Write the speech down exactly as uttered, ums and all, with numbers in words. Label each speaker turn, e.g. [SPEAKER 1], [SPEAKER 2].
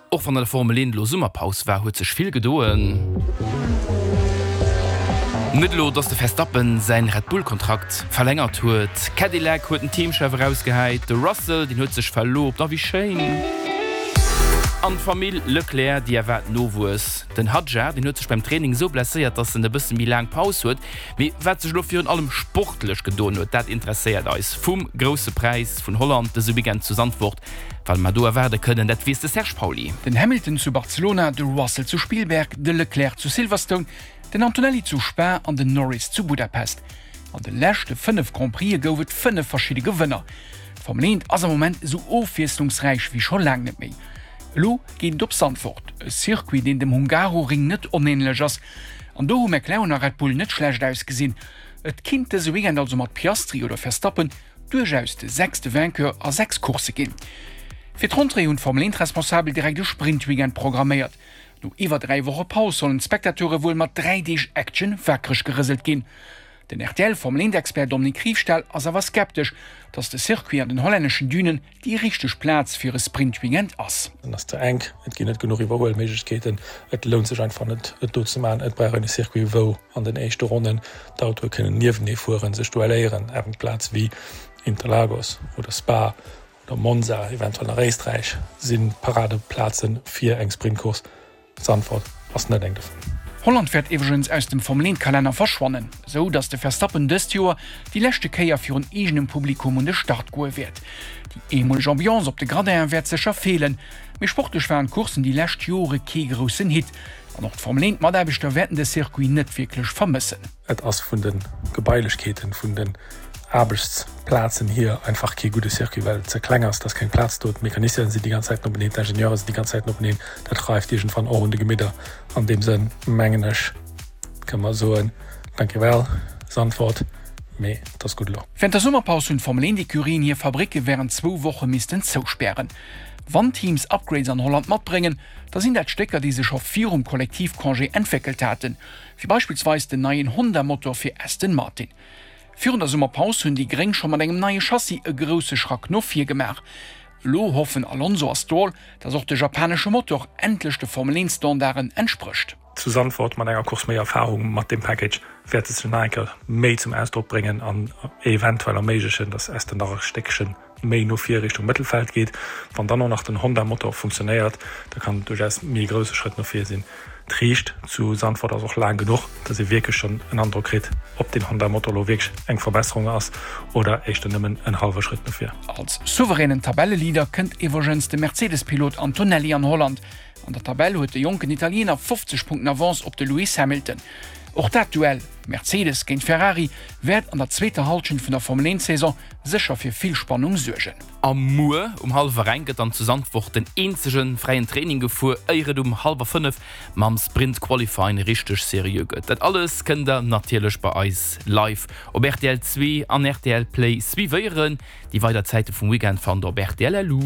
[SPEAKER 1] Och wann an der Formel eent elo Summerpaus war, huet sech vill gedoen. Net elo, dass de Verstappen säin Red Bull Kontrakt verlängert huet. Cadillac huet den Teamchef erausgehäit. De Russell, deen huet sech verloobt. A wéi schéin! An d'Famill Leclerc, déi erwaart Nowuess. Den Hadjar, deen huet sech beim Training esou blesséiert, dass en e bësse méi laang Paus huet. Mee wat sech elo virun allem sportlech gedoen huet, dat interesséiert eis. Vum Grousse Präis vun Holland dëse Weekend zu Zandvoort, wat mer do erwaarde kënnen, dat weess de Serge Pauly.
[SPEAKER 2] Den Hamilton zu Barcelona, de Russell zu Spielberg, de Leclerc zu Silverstone, den Antonelli zu Spa an den Norris zu Budapest. An de leschte fënnef Grand Prixë gouf et fënnef verschidde Gewënner. D'Formel eent ass am Moment esou ofwiesslungsräich wéi scho laang net méi. Elo geet et op Zandvoort, e Circuit, deen dem Hungaroring net onänlech ass. An do hu McLaren a Red Bull net schlecht ausgesinn. Et kinnt dëse Weekend also mat Piastri oder Verstappen duerchaus de sechste Vainqueur a sechs Coursse ginn. Fir d'Rentrée hunn d'Formel eent Responsabel direkt e Sprint-Weekend programméiert. No iwwer dräi Woche Paus sollen d'Spectateure wuel mat dräi Deeg Action wakereg gerëselt ginn. Den R T L Formel eent Expert Dominique Riefstahl ass awer skeptesch, datt de Circuit an den hollänneschen Dünen déi richteg Plaz fir e Sprint-Weekend ass.
[SPEAKER 3] En ass ze enk, et ginn net genuch Iwwerhuelméiglechkeeten, et lount sech einfach net et do ze maachen. Et brauch een e Circuit wou an den éischte Ronnen d'Autoe kënnen niewenee fueren, sech duelléieren, eben Plaze wéi Interlagos oder Spa oder Monza, eventuell nach Éisträich si Paradeplaze fir eng Sprintcourse. Zandvoort ass net eng dovun.
[SPEAKER 2] Holland wäert iwwregens aus dem Formel eent Kalenner verschwannen, esou datt de Verstappen dëst Joer déi leschte Kéier virun eegenem Publikum un de Start goe wäert. Déi eemoleg Ambiance op de Gradinen wäert sécher feelen, mee sportlech waren d'Courssen déi lescht Jore kee groussen Hit an och d'Formel eent Mataarbechter wäerten de Circuit net wierklech vermëssen.
[SPEAKER 3] Et ass vun de Gebailechkeeten, vun den Aarbechtsplazen hier einfach kee gudde Circuit, well et ze kleng ass, et ass keng Plaz do, d'Mecaniciene sinn déi ganz Zäit nopeneen, d'Ingenieure sinn déi ganz Zäit nopeneen, dat reift iergendwann och un de Gemidder. An deem Sënn mengen ech, kënne mer soen, Dankjewel Zandvoort, mee et ass gutt elo.
[SPEAKER 2] Wärend der Summerpaus hunn d'Formel eent Ecurien hir Fabricke wärend zwou Woche missten zouspären. Wann Teams Upgrades an Holland matbréngen, da sinn dat Stécker, déi se scho virum Kollektivcongé entwéckelt haten, wéi beispillsweis den neien Honda-Motor fir Aston Martin. Virun der Summerpaus hunn déi Gréng scho mat engem neie Chassis e grousse Schrack no vir gemaach. Elo hoffen Alonso a Stroll, dass och de japanesche Motor endlech de Formel-eent-Standarden entsprécht.
[SPEAKER 3] Zu Zandvoort mat enger Course méi Erfarung mat deem Package wäert et sech nach eng Kéier méi zum Ausdrock bréngen an eventuell erméiglechen, dass Aston nach e Stéckche méi no vir Richtung Mëttelfeld geet. Wann dann och nach den Honda-Motor funktionéiert, da kann et duerchaus méi e grousse Schrëtt no vir sinn. D'Riicht zu Zandvoort ass och laang genuch, dass ee wierklech schonn en Androck kritt, ob deen Honda-Motor elo wierklech eng Verbesserung ass oder éischter nëmmen en hallwe Schrëtt no vir.
[SPEAKER 2] Als souveränen Tabelleleader kënnt iwwregens de Mercedes-Pilot Antonelli an Holland. An der Tabell huet de jonken Italiener fofzeg Punkten Avance op de Lewis Hamilton. Och dat Duell Mercedes géint Ferrari wäert an der zweeter Hallschent vun der Formel eent Saison sécher fir vill Spannung suergen.
[SPEAKER 1] A muer um hallwer eng gëtt dann zu Zandvoort den eenzege fräien Training gefuer, éier et um hallwer fënnef mam Sprint Qualifying richteg seriö gëtt. Dat alles kënnt der natierlech bei eis live op rtl zwee an rtl Play suivéieren. Déi weider Zäite vum Weekend fannt der op rtl. Lu.